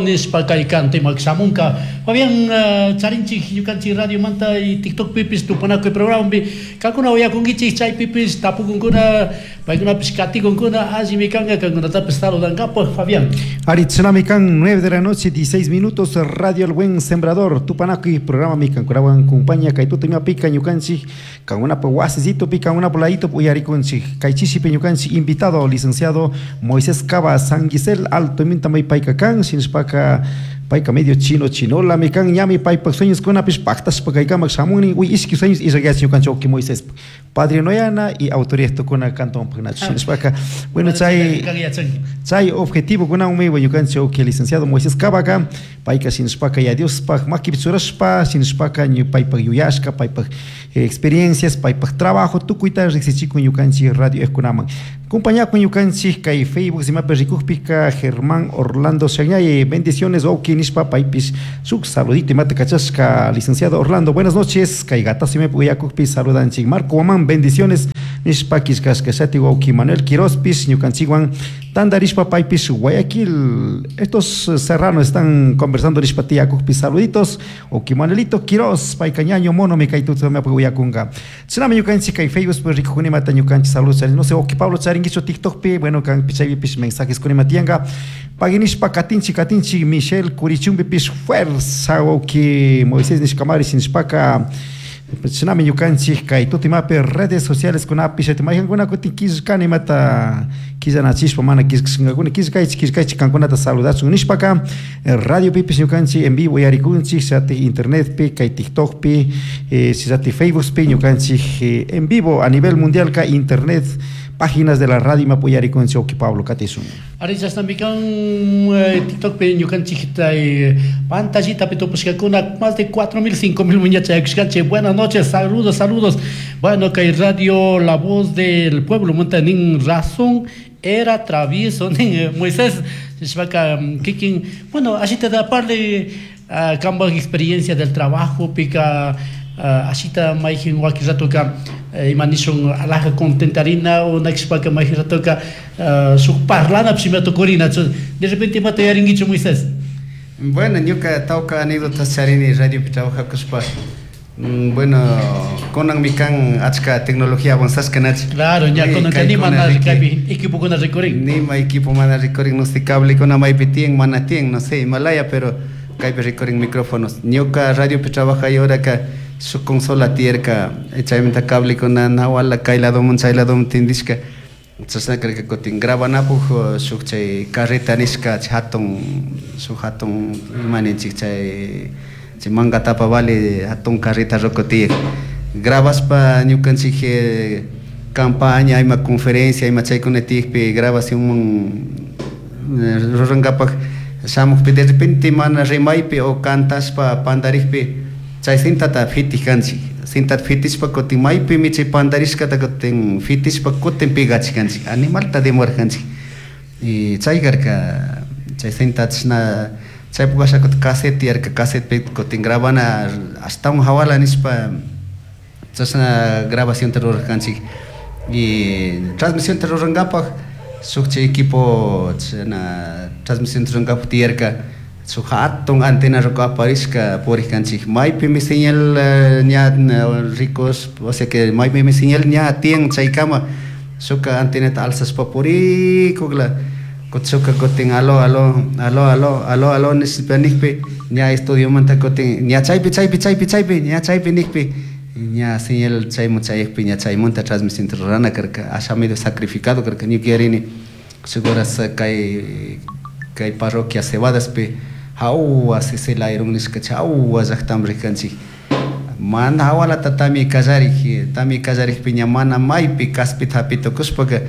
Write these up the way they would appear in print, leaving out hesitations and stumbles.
Nishpa kay kantimak shamunka. Fabián, charinchik ñukanchik radiomanta y TikTok pipis tupanakuy programpi kankuna uyakunkichik chaypipis tapukunkuna paykunapish katikunkuna allimi kanka kankunatapis saludankapaj, Fabián. Ari Tsunami kan 9 de la noche, 16 minutos, Radio El Buen Sembrador, Tupanakuy programa mi kankurawan compañía kay tuta pika ñukanchik kankunapa wasisito pi kankunapa ladito uyarikunchik kay chishipi ñukanchik invitado licenciado Moisés Cava Sanguisel Alto minta may payka kan shinashpaka payka medio chino chinola mi kan ñami paypak sueños kunapish paktashpa kaykamak shamunni uy ishki sueños ishakyachin ñukanchik wawki Moisés padrino yana y autoridad tukuna kantonpak nachu shinashpaka bueno chay chay objetivo kunanmi ñukanchik wawki licenciado Moisés Cavaka payka shinashpaka ya Diospaj makipi churashpa shinashpaka paypak yuyashka paypak experiencias paypak trabajo tukuyta riksichikun ñukanchik radio kunaman compañakun ñukanchik kay Facebook imapi rikukpika Germán Orlando Shañay bendiciones wawki nishpa paypish shuk saludito imata kachashka licenciado Orlando buenas noches kay gatazo imapi uyakukpi saludanchik Marco Guamán bendiciones nishpa killkashka shati wawki Manuel Quirospis ñukanchikwan tandarishpa paypish Guayaquil estos serranos están conversando nishpa tiyakukpi saluditos wawki Manuelito Quiroz payka ñaño mono mi kay tuta imapi uyakunka chinami ñukanchik kay Facebook rikukunimata ñukanchik saludos charin no sé wawki Pablo charinkichu TikTokpi bueno kanpi chaypipish mensajes kunima tiyanka paginishpa katinchik katinchik Michelle Curichumbipish fuerza wawki Moisés nishkamari shinashpaka chinami ñukanchik kay tutimapi redes sociales kunapi shati maykankuna kutin killkani imata killanachishpa mana killkashkakuna killkaychik killkaychik kankunata saludachun nishpaka radiopipish ñukanchik en vivo uyarikunchik shati internetpi kay TikTokpi shati Facebookpi ñukanchik en vivo a nivel mundial ka internet páginas de la radio imapi uyarikunchik wawki Pablo katisun. Ari chashnami kan TikTokpi ñukanchik pantallitapi tupashkakuna más de 4.000, 5.000 muñachaykushkanchik. Buenas noches, saludos, saludos. Bueno, kay radio La Voz del Pueblo munta nin razón era travieso nin Moisés nishpaka kikin bueno ashita da parle kambaj experiencia del trabajo pika ashita mayjin wakin ratoka ima nishun alaja contentarina o nakishpaka mayjin ratoka shuk parlana ima tukurina de repente imata yarinkichu, Moisés? Bueno, ñuka tawka anécdotas charini radiopi trabajakushpa. Bueno, kunanmi kan achka tecnología avanzashka nachi. Claro, ña kunanka nima mana kaypi equipokuna rikurin. Nima equipo mana rikurin, no sé, cablekuna maypi tiyan, mana tiyan, no sé, Himalaya, pero kaypi rikurin micrófonos. Ñuka radiopi trabajay horaka shuk consola tiyarka, chaymanta cablekuna nawala kay ladoman chay ladoman tindishka. Chashna karka kutin grabanapuj shuk chay carreta nishka hatun shuk hatun ima ninchik chay chay manga tapa vale hatun carreta roco tiyak. Grabaspa ñukanchik campaña ima conferencia ima chaykuna tiyakpi grabacionman rurankapak shamukpi de repente mana rimaypi o cantashpa pandarikpi chay cintata fitik kanchik. Cintata fitishpa kutin maypimi chay pandarishkata kutin fitishpa kutin pegachik kanchik animalta demorarkanchik. Y chay karka chay cinta chashna chaypuk asha kutin cassette tiyarka cassettepi kutin grabana ashtawan hawala nishpa chashna grabacionta rurarkanchik. Y transmisionta rurankapak shuk chay equipo chashna transmisionta rurankapak tiyarka shuk hatun antena roco aparishka purikanchik maypimi señal ña ricos o sea que maypimi señal ña tiyan chaykama shuka antenata alzashpa purikukla kutin shuka kutin alo alo alo alo alo alo nishpa nikpi ña estudiomanta kutin ña chaypi chaypi chaypi chaypi ña chaypi nikpi ña señal chaymun chayakpi ña chaymunta transmisionta rurana karka asha medio sacrificado karka ñuka yarini shuk horas kay kay parroquia Cebadaspi hawa Sisilayrun nishka chawa llaktaman rikanchik mana hawalata tamia kallarik tamia kallarikpi ña mana maypi kaspita hapi tukushpaka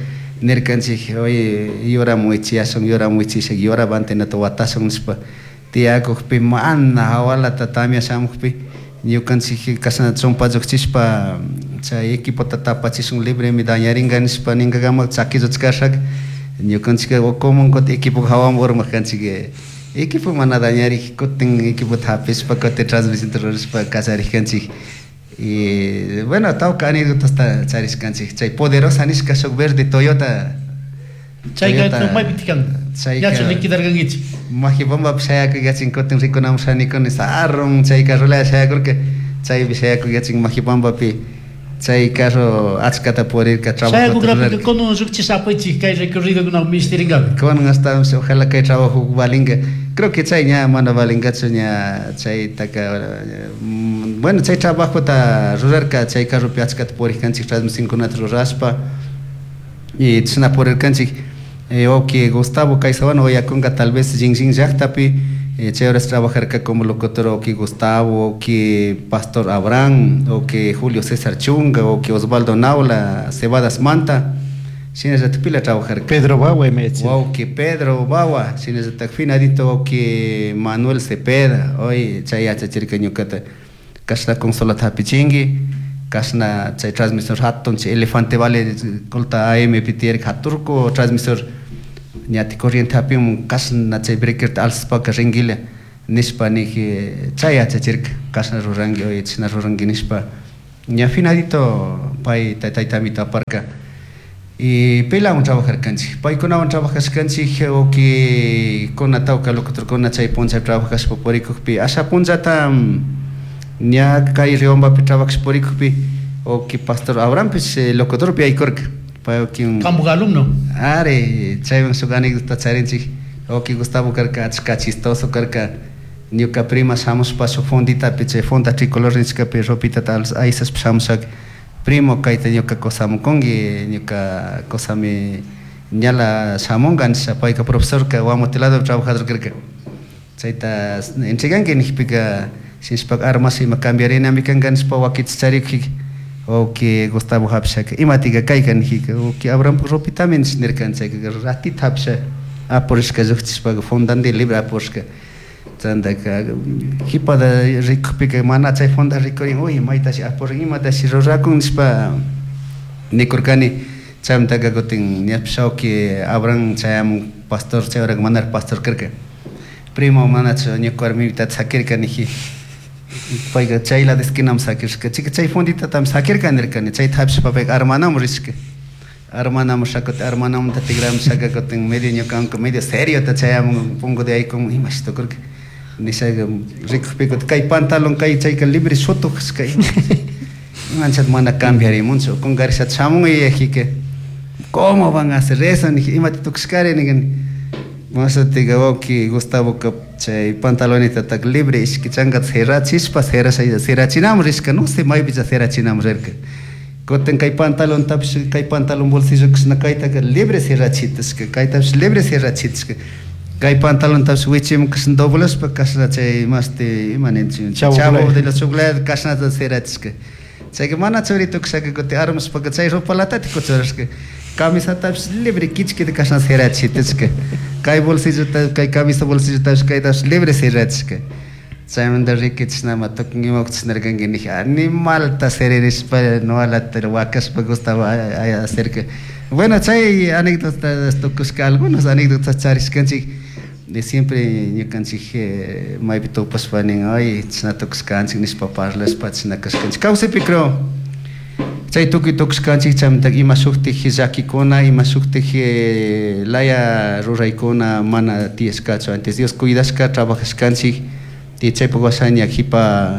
nirkanchik oye yuraman wichiyashun yuraman wichisha yurapa antenata watashun nishpa tiyakukpi mana hawalata tamia shamukpi ñukanchik kashna chumpa llukchishpa chay equipota tapachishun libremi dañaringa nishpa ninkakama chaki lluchkashaka ñukanchik ukuman kutin equipo hawaman urmarkanchik equipo mana dañarik kutin equipota hapishpa kutin transmisionta rurashpa kallarikanchik. Y bueno, tawka anécdotasta charishkanchik chay poderosa nishka shuk verde Toyota. Chayka maypi tikan? Ñachu liquidarkankichik? Majibambapi shayakuyachin kutin rikunamun shanikuni sarun chay carrolaya shayakurka, chaypi shayakuyachin Majibambapi chay carro achkata purirka trabajo. Shayakukrapika kunan llukchisha apaychik kay recorridokuna ministirinkapi. Kunan hasta ojalá kay trabajo valinga. Creo que chay ña mana valingachu ña chaytaka, bueno, chay trabajota rurarka chay carropi achkata purikanchik transmisionkunata rurashpa y chashna purirkanchik. Wawki Gustavo Caizahuano uyakunka tal vez Jinjin llaktapi, chay horas trabajarka como locutor wawki Gustavo, wawki Pastor Abraham, wawki Julio César Chunga, wawki Osvaldo Naula, Cebadas Manta, shinallatak pila trabajarka. Pedro Bawa imayachi. Wawki Pedro Bawa, shinallatak finadito wawki Manuel Cepeda, hoy chay yachachirka ñukata kashna consolata hapichinki, kashna chay transmisor hatun chay Elefante Vale Colta AM pi tiyarka haturku transmisor ñati corriente hapimun kashna chay breakerta alzashpaka ringuila nishpa niji chay yachachirka kashna ruranki oye chashna ruranki nishpa ña finadito pay taytamito aparka. Y pilawan trabajarkanchik, paykunawan trabajashkanchik wawkikuna tawka locutorkuna chay punlla trabajashpa purikukpi asha punllata ña kay Riobambapi trabajashpa purikukpi wawki Pastor Abrahampish locutorpi yaykurka. Pay wawkin Kampak alumno. Ari, chaywan shuk anécdota charinchik. Wawki Gustavo karka achka chistoso karka. Ñuka prima shamushpa shuk fonditapi chay fonda tricolor nishkapi ropitata aysashpa shamushaka primo kayta ñuka kusamukunki, ñuka kusami ñala shamunka nisha payka profesorka Guamote lado trabajador karka. Chayta entreganki nijpika shinashpaka armas ima cambiarinami kanka nishpa wakichi charikujika wawki Gustavo hapishaka imatika kayka nijika wawki Abrahampak ropitami nish nirkan chayka ratito hapisha apurishka llukchishpaka fondandi libre apurishka. Chantaka jipada rikukpika mana chay fonda rikurin uy maytashi apurin imatashi rurakun nishpa nikurkani. Chaymantaka kutin ñapish wawki Abraham chayamun pastor chay horaka manaraj pastor karka. Primo manachu ñuka warmipita sakirka niji payka chay lado esquinaman sakirishka chika chay fonditatami sakirka nirkani chayta hapishpa payka armanamun rishka. Armanamun shakutin armanamanta tigramushaka kutin medio ñukanka medio seriota chayamun punkuta yaykumun imashi tukurka nishaka rikukpi kutin kay pantalón kay chayka libre shutukashka imanchat mana cambiarimunchu kunkarishata shamun yuyajika ¿cómo van a hacer eso? Niji imata tukushkari nijani Mashatika wawki Gustavoka chay pantalonitata libre ishki chankata cerrachishpa cerrachinamun rishka no sé maypicha cerrachinamun rirka. Kutin kay pantalontapish kay pantalón bolsillo kashna kaytaka libre cerrachitishka kaytapish libre cerrachitishka kay pantalontapish wichimun kashna doblashpa kashna chay mashti ima ninchik chavo de los chocolates kashnata cerrachishka. Chayka mana churito kashaka kutin armashpaka chay ropalatati kuchurashka camisatapish libre kichkita kashna cerrachitishka kay bolsillota kay camisa bolsillotapish kaytapish libre cerrachishka. Chaymanta riki chishnama tukun ima chishnarkanki niji animalta seririshpa nuwalata wakashpa Gustavo acerca. Bueno, chay anécdotas tukushka algunas anécdotas charishkanchik de siempre ñukanchik maypi tupashpa nin ay chishna tukushkanchik nishpa parlashpa chishna kashkanchik. Kawsaypi creo chay tukuy tukushkanchik chaymanta ima shuktik llakikuna ima shuktik laya ruraykuna mana tiyashkachu antes Dios cuidashka trabajashkanchik y chaypak washaña jipa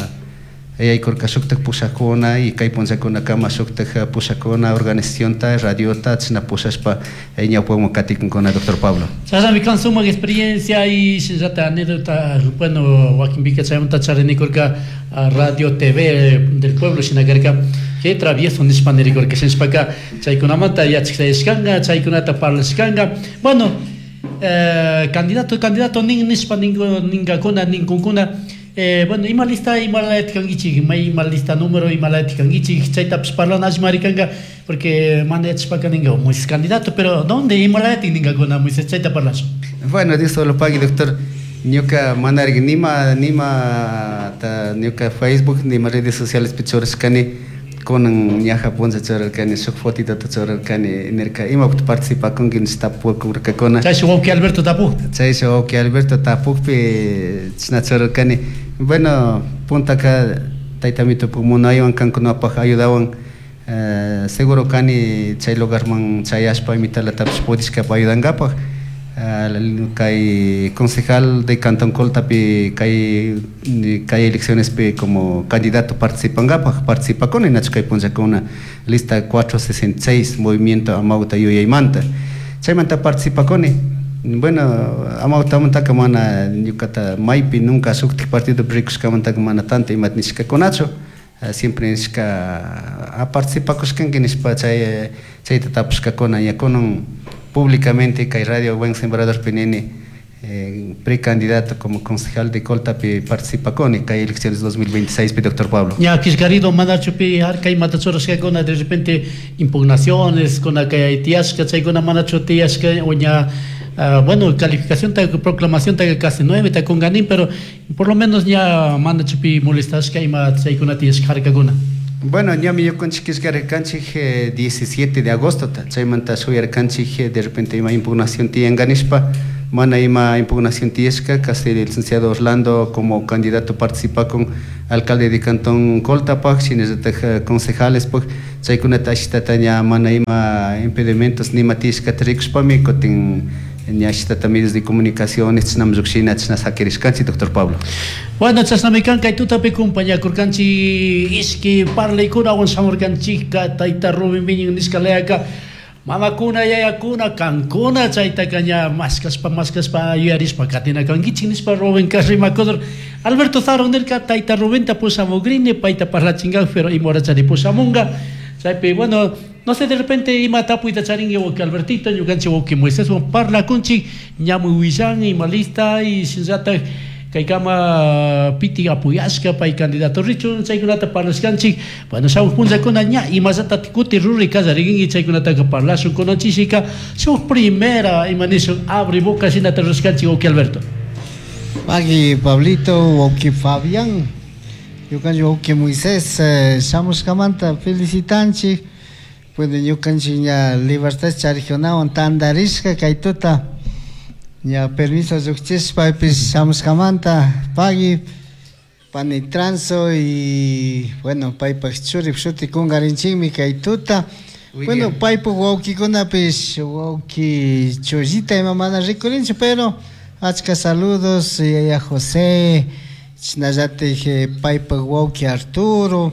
yaykurka shuktak pushakuna y kay punllakunakama shuktak pushakuna organizacionta radiota chashna pushashpa ñawpaman katikunkuna doctor Pablo. Chashnami kan sumak experiencia y shinallata anécdota bueno wakinpika chaymanta charinikurka Radio TV del pueblo shinakarka que travieso nishpa nirikurka shinashpaka chaykunamanta yachakshayashkanka chaykunata parlashkanka bueno candidato candidato nin nishpa ninkakuna ninkunkuna bueno ima lista ima kankichik ima lista número ima kankichik chaytapish parlana alli marikanka porque mana yachashpaka ninka Moisés candidato pero ¿dónde ima ninkakuna Moisés chayta parlashun? Bueno, Dios solo pague doctor. Ñuka manariki nima nima ta ñuka Facebook nima redes sociales pi churashkani kunan ñaja punlla churarkani shuk fotitota churarkani nirka imapuk participakunki nish tapukurkakuna. Chayshi wawki Alberto tapu. Chayshi wawki Alberto tapukpi chashna churarkani. Bueno, puntaka taytamitupak munaywan kankunapak ayudawan seguro kani chay lugarman chayashpa imitalatapish pudishkapa ayudankapak. Kay concejal de Cantón Coltapi kay kay eleccionespi como candidato participankapaj participakuni nachu kay punllakuna lista 466 movimiento Amauta yuyaymanta chaymanta participakuni. Bueno, Amautamantaka mana ñukata maypi nunca shuktik partidopi rikushkamantaka mana tanto imata nishkakunachu, siempre nishka participakushkanki nishpa chay chayta tapushkakuna. Ña kunan públicamente kay Radio Buen Sembradorpi nini, precandidato como concejal de Coltapi participakuni kay elecciones 2026 pi, doctor Pablo. Ña killkarido manachu pi harkay imata churashkakuna, de repente impugnaciones kuna kay tiyashka, chaykuna manachu tiyashka o ña bueno, calificación ta proclamación ta casi 9 ta kunganin, pero por lo menos ña manachu pi molestashka ima chaykuna tiyashka harkakuna? Bueno, ñami ñukanchik killkarkanchik 17 de agosto, chaymanta shuyarkanchik de repente ima impugnación tiyanka nishpa, mana ima impugnación tiyashka. Casi el licenciado Orlando como candidato participakun alcalde de Cantón Coltapak, shinallatak concejales, chaykunata ashtata ña mana ima impedimentos nima tiyashkata rikushpami kutin ña ashtata medios de comunicación chashnami llukshina, chashna sakirishkanchik, doctor Pablo. Bueno, chashnami kan kay tutapi kumpañakurkanchik ishki parlaykunawan shamurkanchikka tayta Rubén Viñin nishka layaka mamakuna yayakuna kankuna chaytaka ña mashkashpa mashkashpa yuyarishpa katina kankichik nishpa Rubén rimakudur. Alberto Zaro nirka tayta Rubenta pushamugrini payta parlachinkak, pero ima horachari pushamunga chaypi. Bueno, no sé, de repente ima tapuyta charinki wawqi Albertito, ñukanchik wawqi Moiséswan parlakunchik ñami willan ima lista y shinallatak kaykama piti apoyashka pay candidato richun chaykunata parlashkanchik. Bueno, shamuq punllakuna ña imallata kuti ruri kallaririnki chaykunataka parlashun. Kunanchishika shuk primera ima nishun abre boca shinata rurashkanchik, wawqi Alberto. Pagui Pablito, wawqi Fabián, ñukanchik wawqi Moisés shamushkamanta felicitanchik. Bueno, ñukanchik ña libertad charikunawan tantarishka kay tuta ña permiso llukchishpa paypish shamushkamanta pagui pani Transo y bueno, paypak churi shuti kunkarinchikmi kay tuta. Bueno, paypak wawkikunapish wawki Chollita ima mana rikurinchu, pero achka saludos yaya José, chashnallatik paypak wawki Arturo,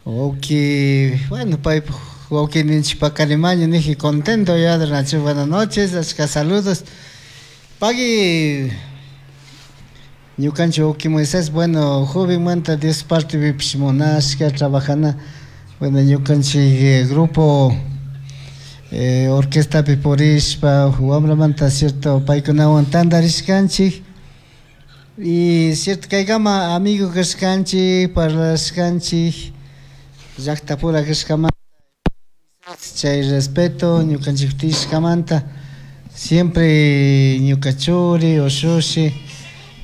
wawki, bueno, paypak wawki ninchik Pacarimaño niji contento ya de. Buenas noches, achka saludos. Pagui ñukanchik wawki Moisés, bueno, jovenmanta Dios partipipish munashka trabajana, bueno, ñukanchik grupo orquestapi purishpa wambramanta, cierto, paykunawan tantarishkanchik y cierto kaykama amigo kashkanchik, parlashkanchik llaqtapura kashkamanta chay respeto ñukanchik tiyashkamanta siempre ñuka churi ushushi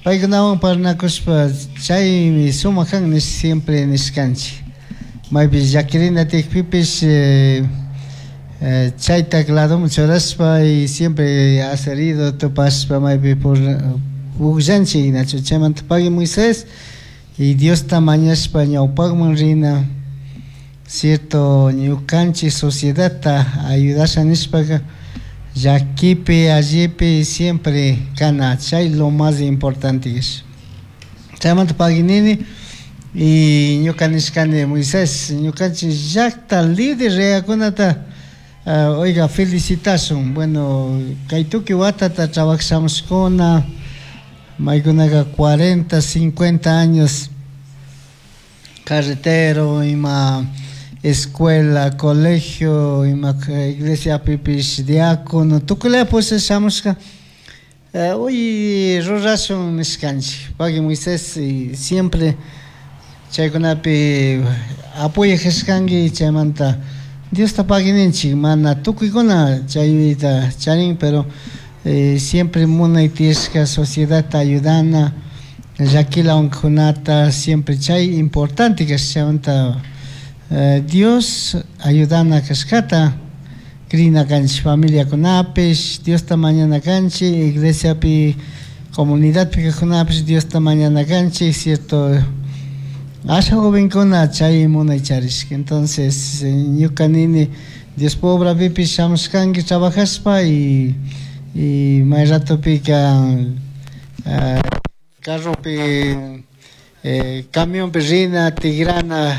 paykunawan parlanakushpa chaymi sumak kan nish siempre nishkanchik maypi llakirina tiyakpipish chayta ladoman churashpa y siempre herido tupashpa maypi pukllanchik nachu. Chaymanta pagui Moisés y Diosta mañashpa ñawpakman rina, cierto, ñukanchik sociedadta ayudasha nishpaka llakipi allipi siempre kana, chay lo más importante es. Chaymanta pagui nini y ñuka nishkani Moisés, ñukanchik llakta líder reakunata oiga felicitashun. Bueno, kay tukuy watata trabajashamushkuna maykunaka 40, 50 años carretero ima escuela, colegio, ima iglesiapipish diácono tukuylaya pushamushka hoy rurashun nishkanchik. Pagui Moisés y siempre chaykunapi apoyajashkanki, chaymanta Diosta pagui ninchik. Mana tukuykuna chayta charin, pero siempre munay tiyashka sociedadta ayudana llakila unkunata siempre chay importante kashka. Chaymanta Dios ayudana kashkata krina kanchik, familiakunapish Diosta mañana kanchik, iglesiapi comunidadpi kajkunapish Diosta mañana kanchik, cierto, asha jovenkuna chay munay charishka. Entonces ñuka nini Dios obrapipish shamushkanki trabajashpa y Y may ratopika carropi camionpi rina tigrana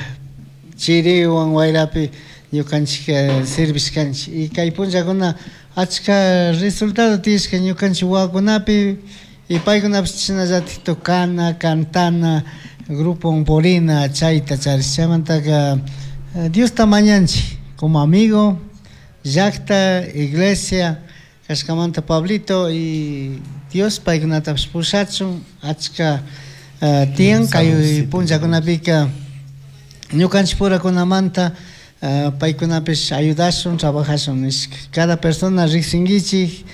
chiriwan wayrapi ñukanchik servishkanchik y kay punllakuna achka resultado tiyashka ñukanchik wawakunapi y paykunapish chashnallatik tocana, cantana, grupo purina chayta charish chaymantaka Diosta mañanchik como amigo llakta, iglesia kashkamanta Pablito y Dios paykunatapish pushachun achka tiyan kay punllakunapika ñukanchik purakunamanta paykunapish ayudashun, trabajashun nishka cada persona riksinkichik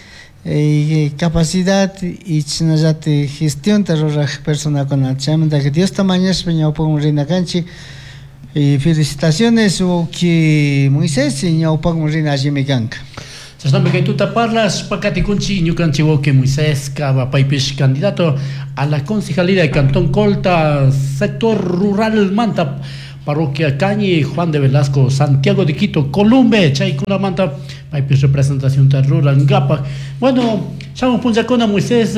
capacidad y chashnallatik gestionta ruraj personakuna chaymantaka Diosta mañashpa ñawpakman rina kanchik y felicitaciones wawki Moisés ñawpakman rina allimi kanka. Chashnami kay tuta parlashpa katikunchik ñukanchik wawki Moisés Cava paypish candidato a la concejalía de Cantón Colta, sector rural manta, parroquia Cañi, Juan de Velasco, Santiago de Quito, Columbe, chaykunamanta paypish representación rurankapak. Bueno, shamuj punllakuna Moisés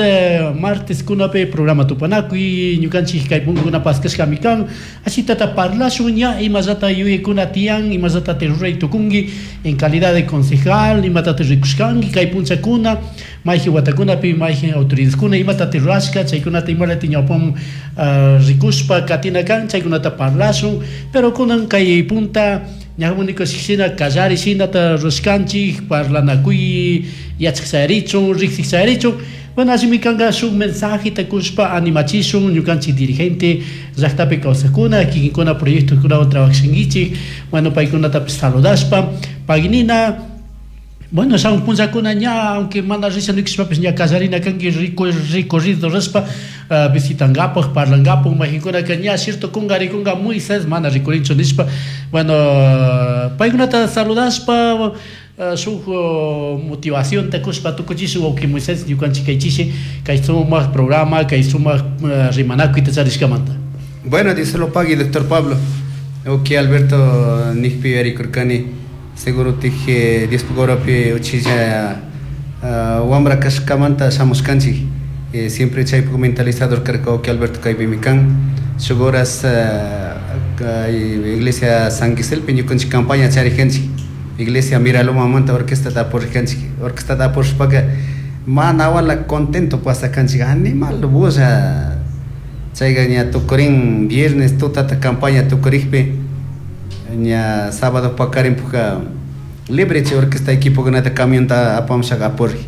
martes kunapi programa tupanakuy ñukanchik kay punkukuna paskashkami kan ashitata parlashun ña imallata yuyaykuna tiyan imallata ruray tukunki en calidad de concejal imatata rikushkanki kay punllakuna mayjin watakunapi mayjin autoridadkuna imatata rurashka chaykunata imalata ñawpaman rikushpa katina kan chaykunata parlashun pero kunan kay punta ñamuniko shina kallari shinata rurashkanchik parlanakuy yachak chayarichun riksik chayarichun. Bueno, allimi kanka shuk mensajeta kushpa animachishun ñukanchik dirigente llaktapi kawsakuna kikinkuna proyectokunawan trabajashankichik. Bueno, paykunatapish saludashpa paginina. Bueno, shamuj punllakuna ña aunque mana risha nikushpapish ña kallarina kanki recorrido rishpa visitankapak parlankapak mayjinkunaka ña cierto kunga rikunga Moisés mana rikurinchu nishpa. Bueno, paykunata saludashpa shuk motivación kushpa tukuchishun wawki Moisés ñukanchik kaychishi kay sumak programa kay sumak rimanakuyta charishkamanta. Bueno, Dios lo pague, doctor Pablo. Ok, Alberto nikpi yarikurkani seguro tije Dios pugoropi uchilla wambra kashkamanta shamushkanchik siempre chaypuk mentalizador karka ok Alberto kaypimi kan shuk horas iglesia San Giselpi ñukanchik campaña charijanchik iglesia Miralomamanta orquestata apurrijanchik orquestata apurishpaka mana wala contento pasakanchik animal bulla chayka ña tukurin viernes tutata campaña tukurikpi ña sábado pakarinpuka libre chay orquesta equipokunata camionta apamushaka apurri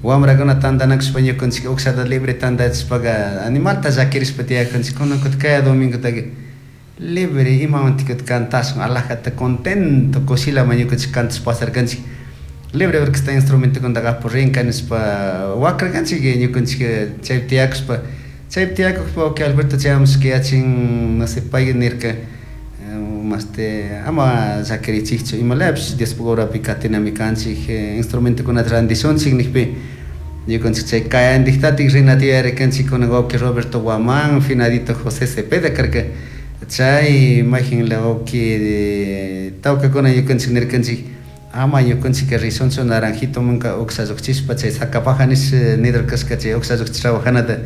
wamrakuna tantanakushpa ñukanchik ukshata libre tantachishpaka animalta llakirishpa tiyakanchik kunan kutin kaya domingotaka libre imamantik kutin cantashun alajata contento kushilama ñukanchik cantash pasarkanchik libre orquesta instrumentokunataka apurrinka nishpa wakrarkanchik ñukanchik chaypi tiyakushpa chaypi tiyakukpa wawki Alberto chayamushka yachin no sé pay nirka maste ama llakirichikchu imalapish Diospuk horapi katinami kanchik instrumentokunata randishunchik nikpi ñukanchik chay kayantiktatik rinata yuyarikanchik kunan wawki Roberto Guamán finadito José Cepeda karka chay mayjinla wawki tawkakuna ñukanchik nirkanchik ama ñukanchik rishunchu Naranjitomanka uksha llukchishpa chay Sacapaja nish nidor kashka chay uksha llukchish trabajanata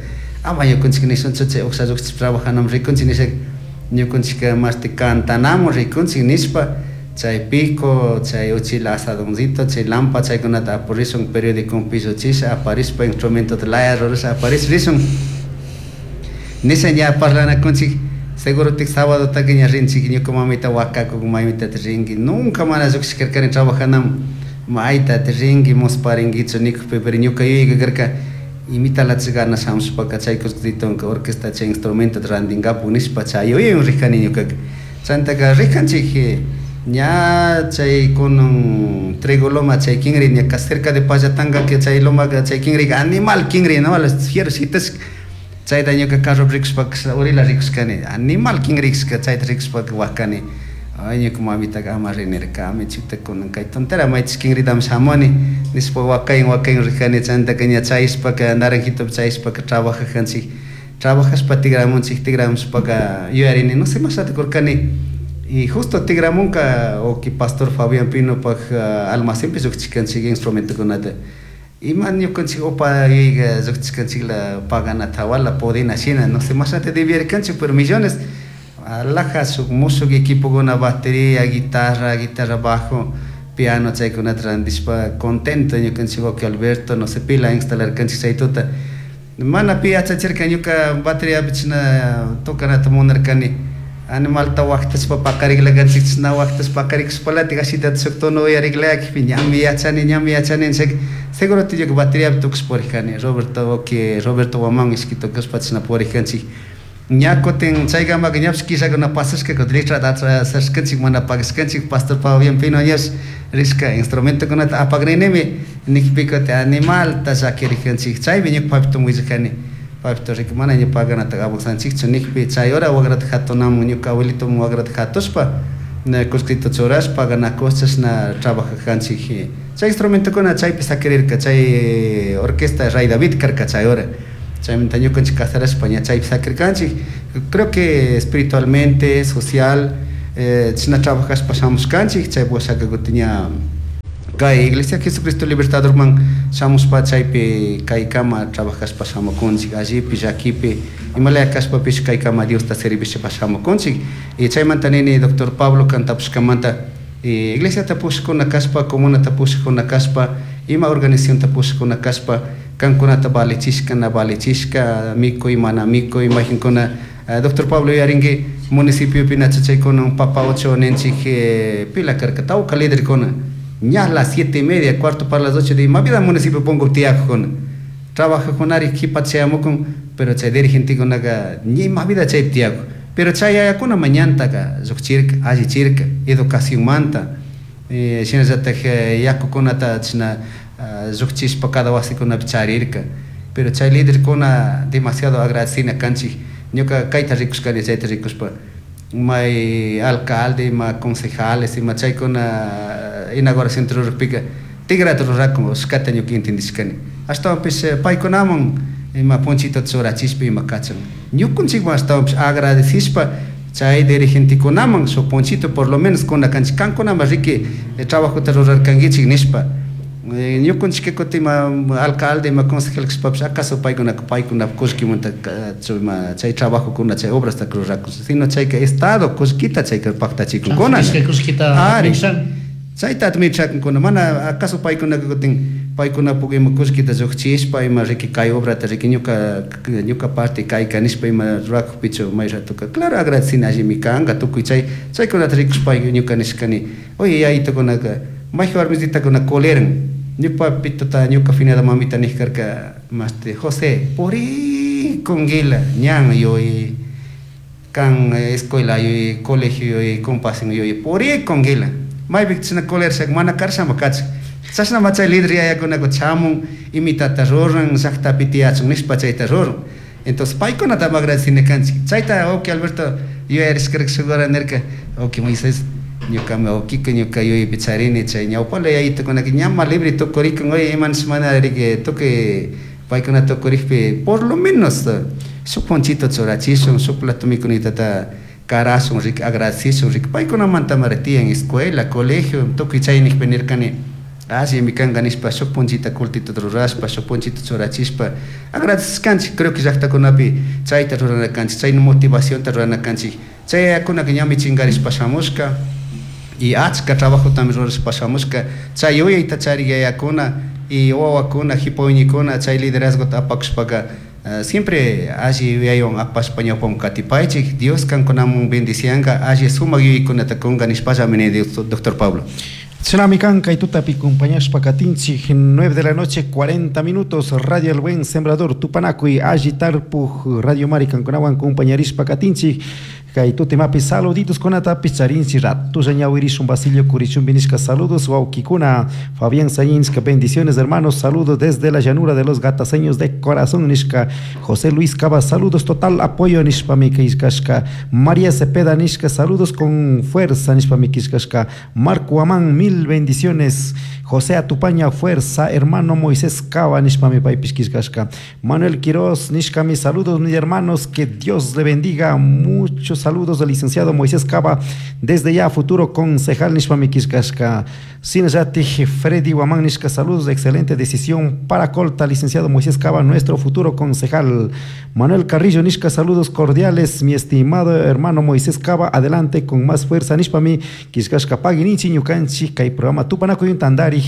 ama ñukanchik nishunchu chay uksha llukchish trabajanamun rikunchik nisha ñukanchik mashti cantanamun rikunchik nishpa chay pico chay uchila asadoncito chay lampa chaykunata apurishun periódico pilluchisha aparishpa instrumentota laya rurasha aparish rishun nisha ña parlanakunchik seguro tik sábado taka ña rinchik ñuka mamita wakakuk mamitata rinki nunca mana llukshishkarkani trabajanamun maytata rinki musparinkichu nikukpi pero ñuka yuyayka karka imitalachi gana shamushpaka chay kullkitonka orquesta chay instrumentota rantinkapuk nishpa chay yuyaywan rijkani ñukaka chaytaka rijanchik ña chay kunan Trigo Loma chay kinri ña cerca de Pallatanga que chay lomaka chay kinrika animal kinri no fierro shitashka chayta ñuka carropi rikushpaka urila rikushkani animal kinrikashka chayta rikushpaka wakani ay ñuka mamitaka ama rinirkami chuta kunan kay tontera maytish kinritami shamuni nishpa wakayin wakayin rijani chaytaka ña chayashpaka Naranjitopi chayashpaka trabajajanchik trabajashpa tigramunchik tigramushpaka yuyarini no sé mashata kurkani y justo tigramunka wawki pastor Fabián Pinopak almacenpi llukchikanchik instrumentokunata Ima ñukanchik upa yuyayka llukchishkanchikla paganata wala podina shina, no sé, mashnata debierkanchik, pero millones alhaja shuk mushuk equipokuna, batería, guitarra, guitarra bajo, piano, chaykunata randishpa contento ñukanchik wawki Alberto, no sé, pila instalarkanchik chay tuta. Mana pi yachachirka ñuka bateriapi chashna tocanata munarkani, animalta waqtashpa paqariklakanchik, chashna waqtashpa paqarikushpalatik ashitata shuk tono uyariklakpi ñami yachani, ñami yachani nishaka seguro ñuka bateriapi tukush purikani, Roberto wawki Roberto Guamán ishki tukushpa chashna purikanchik. Ña kutin chaykamaka ñapish killakuna pasashka, kutin letrata atrasashkanchik, mana pagashkanchik, pastor Fabián Pino ñash rishka instrumentokunata apakrinimi nikpi kutin animalta llakirikanchik. Chaymi ñuka papito willakani, papito riki mana ña paganata avanzanchikchu nikpi, chay hora wakrata hatunamun ñuka abuelitomun wakrata hatushpa kullkita churashpa paganakush chashna trabajakanchik. Chay instrumentokuna chaypi sakirirka, chay orquesta Rey David karka chay hora. Chaymanta ñukanchik casarashpa ña chaypi sakirkanchik. Creo que espiritualmente, social, chashna trabajashpa shamushkanchik, chay washaka kutin ña kay Iglesia Jesucristo Libertadorman shamushpa chaypi kaykama trabajashpa shamukunchik, allipi, llakipi, imalaya kashpapish kaykama Diosta servishpa shamukunchik. Y chaymanta nini doctor Pablo kantapushkamanta, iglesiata pushakuna kashpa, comunata pushakuna kashpa, ima organizacionta pushakuna kashpa, kankunata valichishka, na valichishka, mikuy, mana mikuy, mayqinkuna, doctor Pablo yuyarinki municipiopi nachachaykuna papa ocho ninchik pila karka, tawka liderkuna, ña las 7:30, 7:45 de ima vida municipio punku tiyakukuna, trabajakunari qhipa chayamukun, pero chay dirigentekunaka ña ima vida chaypi tiyakun, pero chay yayakuna mañantaka llukchirka, allichirka, educacionmanta, shinallatak yakukunata chashna llukchishpa cada wasikunapi charirka, pero chay liderkuna demasiado agradecina kanchik, ñuka kayta rikushkani, chayta rikushpa, may alcalde, ima concejales, ima chaykuna inauguración rurajpika tigrata rurakun, ushkata ñuka entendishkani, ashtawanpish paykunaman ima punchitata churachishpa ima kachan, ñukunchikman ashtawanpish agradecishpa chay dirigentekunaman shuk punchito por lo menos kuna kanchik, kankunaman riki trabajota rurarkankichik nishpa. Ñukunchik kutin ima alcalde, ima concejal kashpapish acaso paykunaka paykunapa kullkimanta ima chay trabajokuna, chay obrasta rurakun, sino chayka estado kullkita chayka paktachikunkuna. Ari, chayta administrakunkuna, mana acaso paykunaka kutin paykunapuk ima kullkita llukchishpa ima riki kay obrata riki ñuka parte kayka nishpa ima rurakukpichu may ratoka, claro agradecina allimi kanka tukuy chay chaykunata rikushpa ñuka nishkani, oye yayitukunaka mayqa warmisitakuna coleran, ñuka papitota ñuka finada mamita nijkarka maste José purikunguila ñan yuy kan escuela yuy colegio yuy compasen yuy purikunguila maypi chashna colershaka mana karshama kachik, chashna machay líder yayakunaka chamun imitata ruran llaktapi tiyachun nishpa chayta ruran, entonces paykunata agradecina kanchik, chayta wawki Alberto yuyarishkarka shuk hora nirka wawki Moisés ñukami wawkika ñuka yuyaypi charini chay ñawpala yayitukunaka ñama libre tukurikun, oye ima nish mana riki tukuy paykuna tukurikpi por lo menos shuk ponchito churachishun, shuk plato mikunitata karashun, riki agradecishun, riki paykunamantamari tiyan escuela, colegio, tukuy chaynikpi nirkani allimi kanka nishpa shuk punchita kultita rurashpa, shuk punchita churachishpa agradecishkanchik, creo que llaktakunapi chayta rurana kanchik, chay motivacionta rurana kanchik, chay yayakunaka ñami chinkarishpa shamushka y achka trabajotami rurashpa shamushka, chay yuyayta charik yayakuna y wawakuna, jipa wiñikuna chay liderazgota apakushpaka siempre alli yuyaywan apashpa ñawpaman katipaychik, Dios kankunaman bendicianka, alli sumak yuyaykunata kunka nishpallami ni doctor Pablo. Tsunami kan kay tutapi compañashpa katinchik, 9 de la noche, 40 minutos, Radio El Buen Sembrador, Tupanakuy, alli tarpuj, Radio Mari kankunawan compañarishpa katinchik, kay tutimapi saluditos kunatapi charinchi ratulla ñawirishun Basilio Curichumbi nishka saludos wawkikuna, Fabián Sayinska, bendiciones hermanos, saludos desde la llanura de los gataseños de corazón nishka, José Luis Cava, saludos total apoyo nishpa mikishkashka, María Cepeda nishka, saludos con fuerza nishpa mikishkashka, Marco Amán, mil bendiciones, José Atupaña Fuerza, hermano Moisés Cava nishpami paypish killkashka. Manuel Quiroz nishkami saludos mis hermanos, que Dios le bendiga. Muchos saludos del licenciado Moisés Cava, desde ya futuro concejal nishpami killkashka. Sinallatik Freddy Guamán nishka saludos, excelente decisión para Colta, licenciado Moisés Cava, nuestro futuro concejal. Manuel Carrillo nishka saludos cordiales, mi estimado hermano Moisés Cava, adelante con más fuerza nishpami killkashka pagui ninchik ñukanchik kay programa Tupanakuy tandari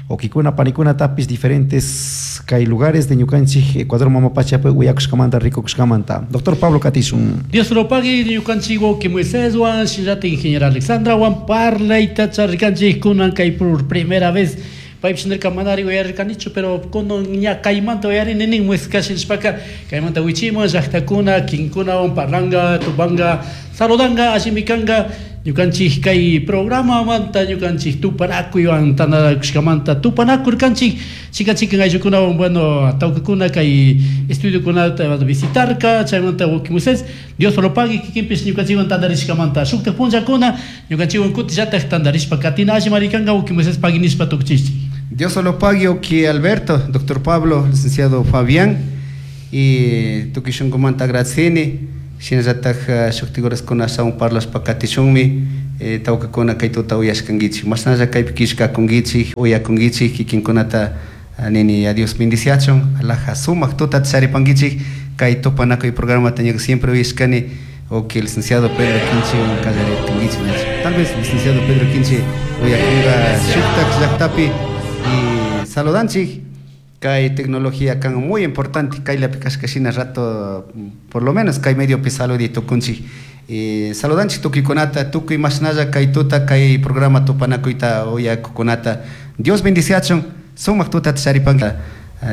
wawkikuna panikuna tapis diferentes kay lugares de ñukanchik Ecuador mama pachapi uyakushkamanta rikukushkamanta. Doctor Pablo katishun. Dios lo pague ñukanchik wawki Moiséswan shinallatik ingeniero Alexandrawan parlayta charirkanchik kunan kay por primera vez paypish nirka manari uyarirkanichu pero kunan ña kaymanta uyarini nin Moisés nishpaka kaymanta wichiman llaktakuna kinkunawan parlanka tupanka saludanka allimi kanka ñukanchik kay programamanta ñukanchik tupanakuywan tantanakushkamanta tupanakurkanchik chikan chikan ayllukunawan bueno tawkakuna kay estudiokunata visitarka chaymanta wawki Moisés Dios lo pague kikinpish ñukanchikwan tantarishkamanta shuktak punllakuna ñukanchikwan kutillatak tantarishpa katina allimari kanka wawki Moisés pagui nishpa tukuchishchik. Dios lo pague, wawki Alberto, doctor Pablo, licenciado Fabián, y tukuy shunkumanta agradecini, shinallatak shuktik horaskuna ashawan parlashpa katishunmi, tawkakuna kay tuta uyashkankichik, mashnalla kaypi killkakunkichik, uyakunkichik, kikinkunata nini a Dios bendiciachun, alaja sumak tutata charipankichik, kay tupanakuy programata ñuka siempre uyashkani, wawki licenciado Pedro Quinche kallarirkankichik, tal vez licenciado Pedro Quinche uyakunka shuktak llaktapi y saludanchik, kay tecnología kan muy importante, kaylapi kashka shina rato, por lo menos kay mediopi saludi tukunchik. Saludanchik tukuykunata, tukuy mashnalla kay tuta, kay programa tupanakuyta uyakukunata. Dios bendiciachun, sumak tutata charipanka.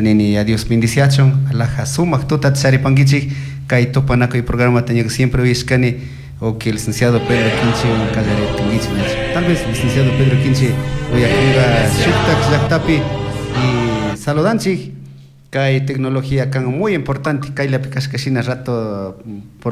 Nini, a Dios bendiciachun, alaja sumak tutata charipankichik, kay tupanakuy programata ñuka siempre uyashkani, wawki licenciado Pedro Quinche kallarirkankichik. Tal vez licenciado Pedro Quinche uyakunka shuktak llaktapi y saludanchik, kay tecnología kan muy importante, kaylapi kashka shina rato, por